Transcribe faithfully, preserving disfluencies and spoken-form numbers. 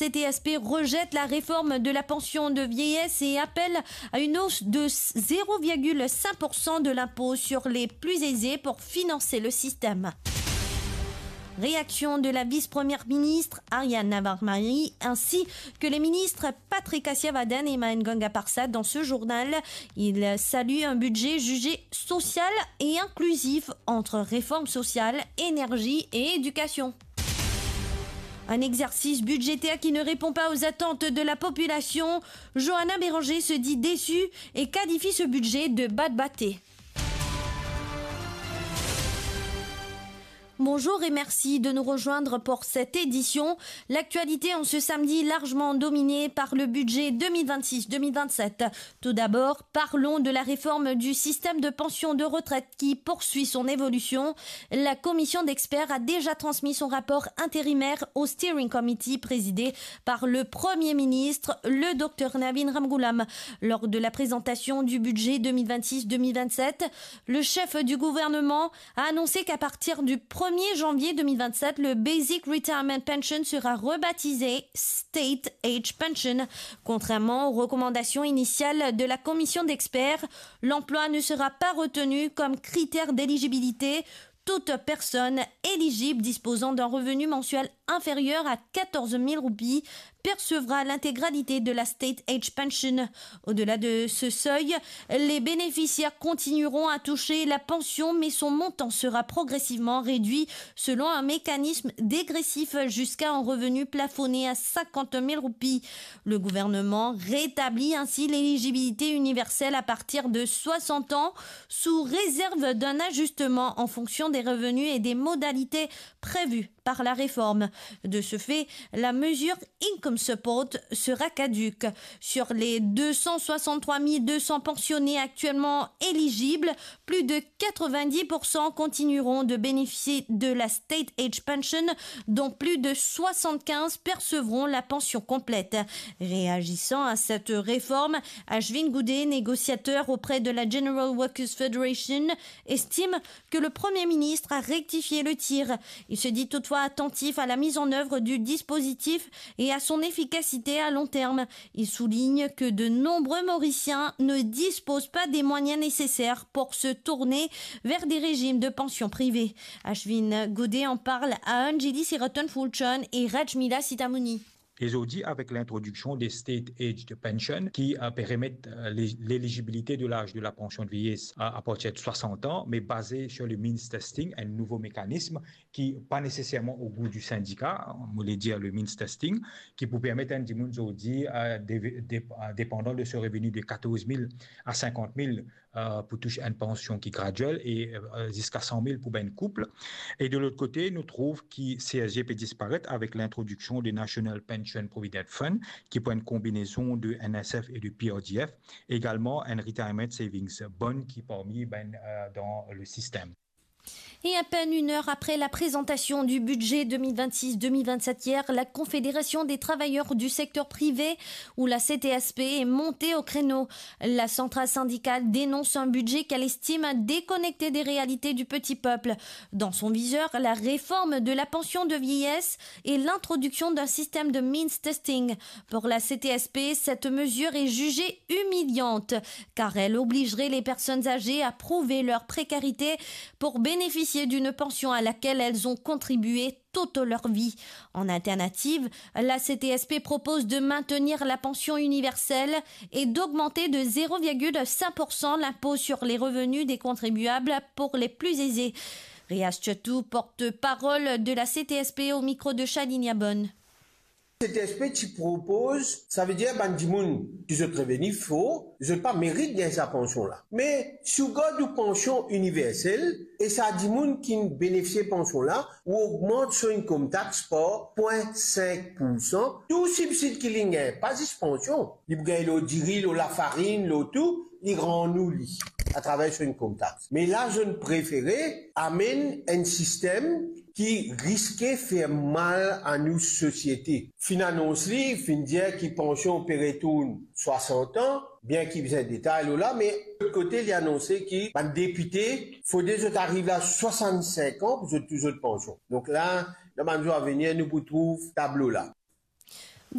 C T S P rejette la réforme de la pension de vieillesse et appelle à une hausse de zéro virgule cinq pour cent de l'impôt sur les plus aisés pour financer le système. Réaction de la vice-première ministre Aryan Navarmari ainsi que les ministres Patrick Asiyavadan et Mahen Ganga Parshad dans ce journal. Ils saluent un budget jugé social et inclusif entre réformes sociales, énergie et éducation. Un exercice budgétaire qui ne répond pas aux attentes de la population. Johanna Béranger se dit déçue et qualifie ce budget de batbaté. Bonjour et merci de nous rejoindre pour cette édition. L'actualité en ce samedi largement dominée par le budget deux mille vingt-six deux mille vingt-sept. Tout d'abord, parlons de la réforme du système de pension de retraite qui poursuit son évolution. La commission d'experts a déjà transmis son rapport intérimaire au Steering Committee présidé par le Premier ministre, le docteur Navin Ramgoolam. Lors de la présentation du budget deux mille vingt-six deux mille vingt-sept, le chef du gouvernement a annoncé qu'à partir du premier janvier deux mille vingt-sept, le Basic Retirement Pension sera rebaptisé State Age Pension. Contrairement aux recommandations initiales de la commission d'experts, l'emploi ne sera pas retenu comme critère d'éligibilité. Toute personne éligible disposant d'un revenu mensuel inférieur à quatorze mille roupies percevra l'intégralité de la State Age Pension. Au-delà de ce seuil, les bénéficiaires continueront à toucher la pension, mais son montant sera progressivement réduit selon un mécanisme dégressif jusqu'à un revenu plafonné à cinquante mille roupies. Le gouvernement rétablit ainsi l'éligibilité universelle à partir de soixante ans, sous réserve d'un ajustement en fonction des revenus et des modalités prévues par la réforme. De ce fait, la mesure Income Support sera caduque. Sur les deux cent soixante-trois mille deux cents pensionnés actuellement éligibles, plus de quatre-vingt-dix pour cent continueront de bénéficier de la State Age Pension, dont plus de soixante-quinze percevront la pension complète. Réagissant à cette réforme, Ashwin Goude, négociateur auprès de la General Workers Federation, estime que le Premier ministre a rectifié le tir. Il se dit toutefois attentif à la mise en œuvre du dispositif et à son efficacité à long terme. Il souligne que de nombreux Mauriciens ne disposent pas des moyens nécessaires pour se tourner vers des régimes de pension privés. Ashwin Goude en parle à Anjali Siraton Fulchan et Rajmila Sitamouni. E zordi, avek lintrodiksion de State Aged Pension, ki, euh, pe remet, euh, l'é-, l'éligibilité de l'âge de la pension de vieillesse à, à partir de soixante ans, mais basé sur le means testing, un nouveau mécanisme qui, pas nécessairement au goût du syndicat, on voulait dire le means testing, ki pou permet enn dimoun zordi, euh, dé-, dé-, euh, dépendant de son revenu de quatorze mille à cinquante mille, euh, pou touch enn pansion ki graduel e, euh, ziska san mil pou bann koup. E de lot kote, nou trouv ki C S G pe disparet avek lintrodiksion de National Pension Provident Fund, ki pou enn konbinezon de N S F e de P R D F, egalman enn Retirement Savings Bond ki parmi bann, euh, dan le sistem. Et à peine une heure après la présentation du budget deux mille vingt-six deux mille vingt-sept hier, la Confédération des travailleurs du secteur privé, ou la C T S P, est montée au créneau. La centrale syndicale dénonce un budget qu'elle estime déconnecté des réalités du petit peuple. Dans son viseur, la réforme de la pension de vieillesse et l'introduction d'un système de means testing. Pour la C T S P, cette mesure est jugée humiliante, car elle obligerait les personnes âgées à prouver leur précarité pour bénéficier d'une pension à laquelle elles ont contribué toute leur vie. En alternative, la C T S P propose de maintenir la pension universelle et d'augmenter de zéro virgule cinq pour cent l'impôt sur les revenus des contribuables pour les plus aisés. Riaz Chetou, porte-parole de la C T S P, au micro de Shalinia Bonne. C T S P ti propoz, savedir bann dimoun ki zot reveni for, zot pa merit gagn sa pansion la. Me si ou gard ou pansion iniversel e sa dimoun ki benefisie pansion la, ou ogmant so income tax par pwin sink poursan, tou sibsid ki li gagn, pa zis pansion, li pou gagn lor diri, lor lafarinn, lor tou, li rann ou li atraver so income tax. Me la, zot inn prefere amenn enn sistem ki riske fer mal a nou sosiete. Finn anons li, finn dir ki pansion pe retourn swasant an, bien ki bizin detay lor la, me lot kote, li anonse ki bann depite, fode zot ariv la swasant-sink an pou zot touch zot pansion. Donk la, dan bann zour avenir, nou pou trouv tablo la.